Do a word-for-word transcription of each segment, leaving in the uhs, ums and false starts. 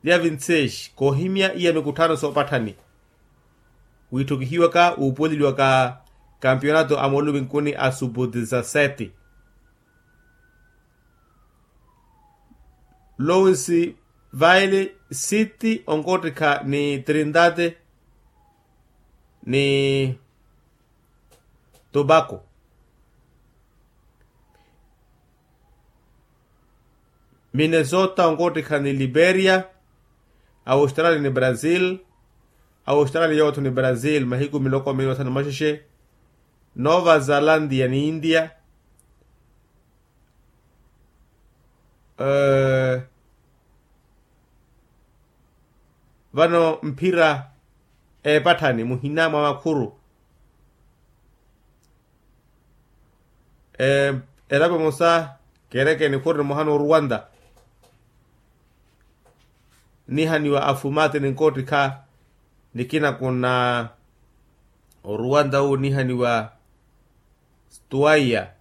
Dia vinti seis koohimya iya mikutthano soopatthani. Wiitthukihiwaka wuupuweleliwaka kampionato a mooluminkuni a subu dizaseti. Lowensi vaili siti onkoottikha ni trindade ni tobacco. Minnesota onkoottikha ni liberia. Australia ni brazil. Australia yootho ni brazil mahiku miloko miili mathanu maxexe. Nova zalandia ni india. Vano mphira eepatthani muhina mwa makhuru. Elapo emosa keereke nikhuru nimoha n'oruwanta. Nihaniwa afumati ninkoottikha nikina kuna oruwanta wu nihaniwa stuwaiya.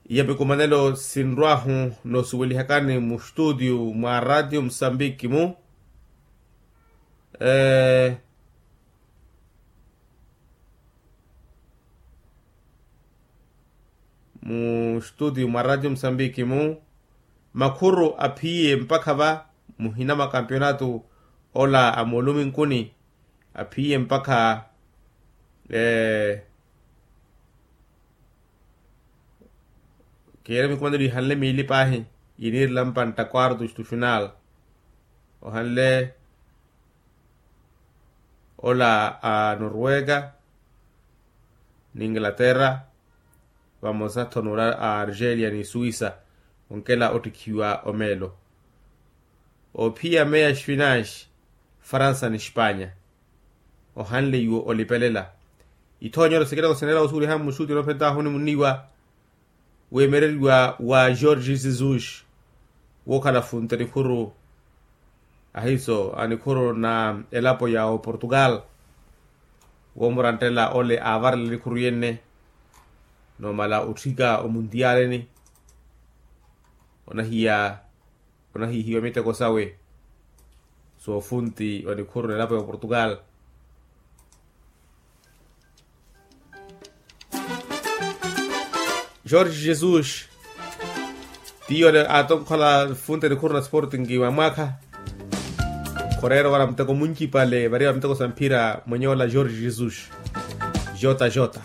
Iya mikumanelo sinrwahu noosuwelihakani mustutio mwa ratio musambiki mu mustutio mwa ratio musambiki mu makhuru aphiye mpakha va muhina mwa kampionato ola a mooluminkuni. Aphiye mpakha kiire mikumanelo ihanle miili paahi iniirilampa ntta quartos tu final. Ohanle ola a norwega ni inglaterra vamosa-tho n'ura a argelia ni suisa. Onkela ottikhiwa omeelo oophiya meya spinash faransa ni spanya. Ohanle iwo olipelela ithoonyero sikiloko sineera osuweliha mmusuti onoophentahu onimuniwa. Weemereriwa wa george jesus wookhala funte nikhuru ahiiso a nikhuru na elapo ya oportugal. Woomurantela ole aavarela nikhuru yenne noomala otthika omuntiyaleni onahiya onahihiwa miteko sawe soofunti wa nikhuru na elapo ya oportugal. George jesus tiyo atonkhola funte nikhuru na sporting wa mwaakha. Khoreera ovara muteko muncipale variwa miteko sa mphira mwenye ola george jesus. Jota jota.